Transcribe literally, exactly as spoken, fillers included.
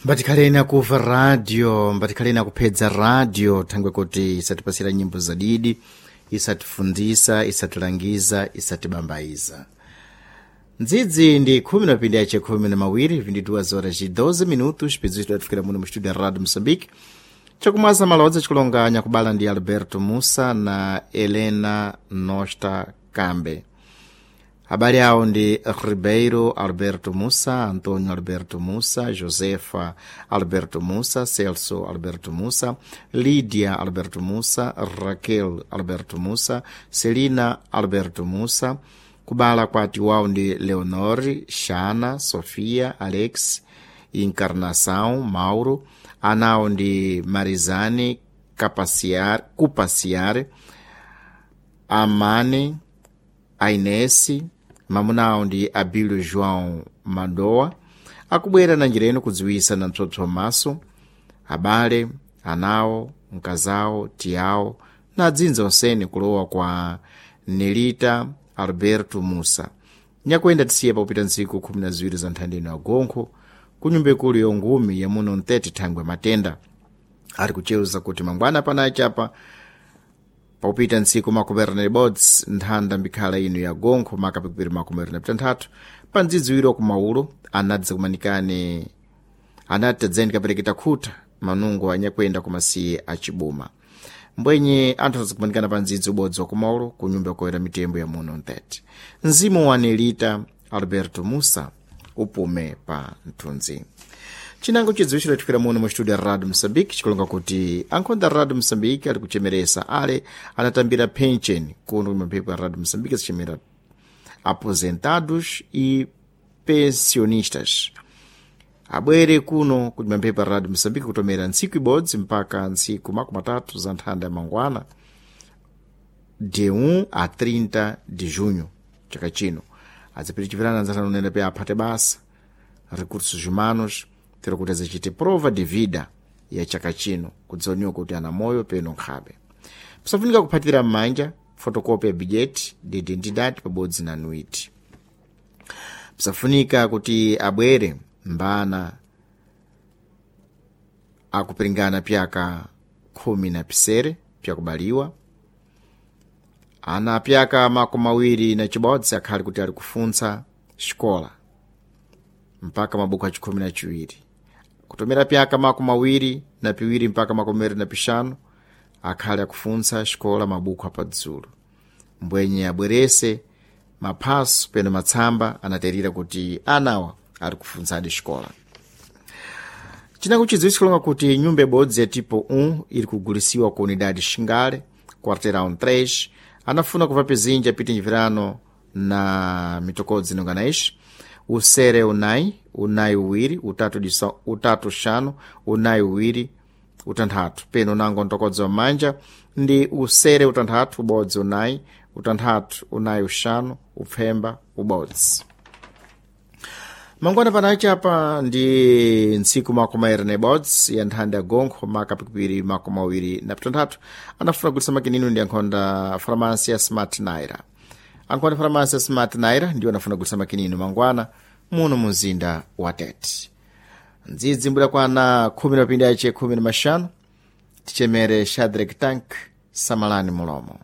Mbatikhaleni akumva radio, mbatikhaleni akuphedza radio, thangwe kuti isatipasira nyimbo zadidi, isatifundisa, isatilangiza, isatibambayiza. Ndzidzi ndi khumi na pindi yace khumi na mawiri, vinte e duas horas e doze minutos, pidzisto tatifikira muno mu studio ya Radio Moçambique. Chakumwaza malodza chikulonganya kubala ndi Alberto Mussa na Helena Nosta Kambe. Habari awo ndi Ribeiro Alberto Mussa, Antonio Alberto Mussa, Josefa Alberto Mussa, Celso Alberto Mussa, Lídia Alberto Mussa, Raquel Alberto Mussa, Celina Alberto Mussa. Kubala kwati wawo ndi Leonor, Shana, Sofia, Alex, Encarnação, Mauro. Anawo ndi Marizane Capaciar, Cupaciar, Amane, Ainesi, mamunawo ndi Abílio João Madoa. Akubwera na njira ino kudziwisa na mpsopso maso abale, anawo, mkazawo, tiyawo na adzinza onsene kulowa kwa Nelita Alberto Mussa. Nyakuyenda tisiye pakupita ntsiku khumi na ziwiri za nthanda ino agonkho ku nyumba ikulu yongumi yamuno mtete thangwe matenda. Ali kuchewuza kuti mangwana panachi apa pakupita ntsiku makumi na ibodzi nthanda mbikhala ino ya gonkho makapikupiri makumi na pitanthatu pa ndzidziwiri wa kumaulo anadza kumanikane anati tadzeni kapereketa khuta manungo anyakwenda kumasiye acibuma. Mbwenye anthu azakumanikana pa ndzidzi ubodzi wa kumaulo ku nyumba yakoyera mitembo ya muno mtete. Mzimu wa Nelita Alberto Mussa upume pa mthunzi. Chinango chidziwitchiro chifikira muno mu studio ya Radio Moçambique chikulonga kuti ankhonda Radio Moçambique ali kuchemeresa ale anatambira pension kuno kumaphepo ya Radio Moçambique zichemera aposentados e pensionistas abwere kuno kuti maphepo ya Radio Moçambique kutomera ntsiku ibodzi mpaka ntsiku makumi atatu za nthanda ya mangwana de um a trinta de junho chaka chino. Adzapitichipirana anzathu unene pe aphate basa recursos humanos tero kuti azacite prova de vida ya chaka chino kudzoniwa kuti ana moyo peno nkhabe. Pisafunika kuphatira m'manja fotokopi ya bilhete de identidade pabodzi na nuiti. Pisafunika kuti abwere mbana akupiringana pyaka khumi na pisere pyakubaliwa, ana pyaka makumi awiri na chibodzi akhali kuti ali kufuntsa xikola mpaka mabuku achikhumi na chiwiri, kutomera pyaka makumi awiri na piwiri mpaka makumi awiri na pixanu akhali akufuntsa xikola mabuku apadzulu. Mbwenye abwerese maphaso peno matsamba anaterera kuti anawa ali kufuntsadi xikola. Chinango chidziwitso chikulonga kuti nyumba ibodzi ya tipo um iri kugulisiwa ku unidade Xingale, quarteirão três, anafuna kuvapizinja piti njivirano na mitokodzi inonga na ixi: usere unai, unai uwiri, utatu, disa, utatu xanu, unai uwiri, utanthatu. Peno nango mtokodzi wa manja ndi usere utanthatu, ubodzi unai, utanthatu, unai uxanu, upfemba ubodzi. Mangwana panachi apa ndi ntsiku makumi ayiri na ibodzi ya nthanda ya gonkho maka pikipiri makumi awiri na pitanthatu anafuna kugulitsa makinino ndi ankhonda farmasi ya Smart Naira. Ankhonda farmasi ya Smart Naira ndiwo anafuna kugulitsa makinino mangwana muno mu mzinda wa Tete. Ndzidzi mbuda kwana khumi na mapindi ace khumi na maxanu tichemere Shadrack Tank samalani mulomo.